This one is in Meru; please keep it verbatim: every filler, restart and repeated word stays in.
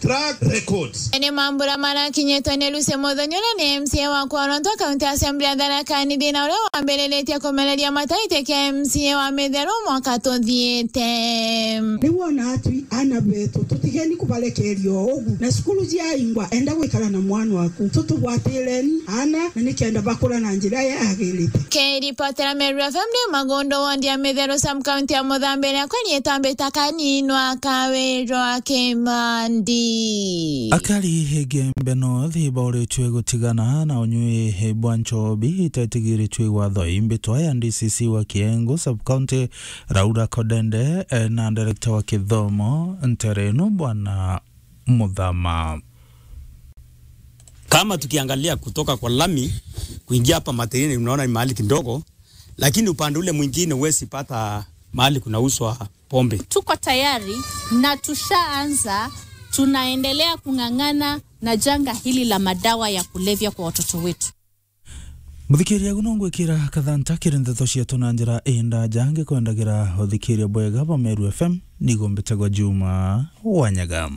track records. Ni mambura marakinyitwe ni Lucy Muthoni, uria ni M C A wa Kworonto, kaunti ya Assembly ya Tharaka Nithi, na uria wambiritie kumereria mataiti kia M C A wa Mitheru mwaka tuthiite. Ni wona atwi ana betu, tutigeni kubarekeria o ugu. Na cukuru ciaingwa, enda gwikara na mwana waku. Tutugwatireni ana, na nikenda bakura na njira yagirite. Kiripotera Meru F M ni Magundu, ward ya Mitheru, sub county ya Muthambi, riakwa riitwa Mbita Kaninwa Kawirwa Kimandi. Akari Igembe North ibauritue gutigana na unyui bwa nchobi itetigiritue igwa thoi. Mbitwa ya D C C wa Kiengu sub county, Laura Kodende, eh, na director wa kithomo ntere ino, Bwana Muthama. Kama tukiangalia kutoka kwa lami kuingia hapa Matirini, unaona ni mahali kidogo, lakini upande ule mwingine huwezi pata mahali kunauzwa pombe. Tuko tayari na tushaanza, tunaendelea kung'ang'ana na janga hili la madawa ya kulevya kwa watoto wetu. Muthikiria, agu no ngwikira kathanta kiri ndeto cietu na njira indaja, ngikwendagira uthikiria bwega bwa Meru F M, nigo mbitagwa Juma Wanyaga.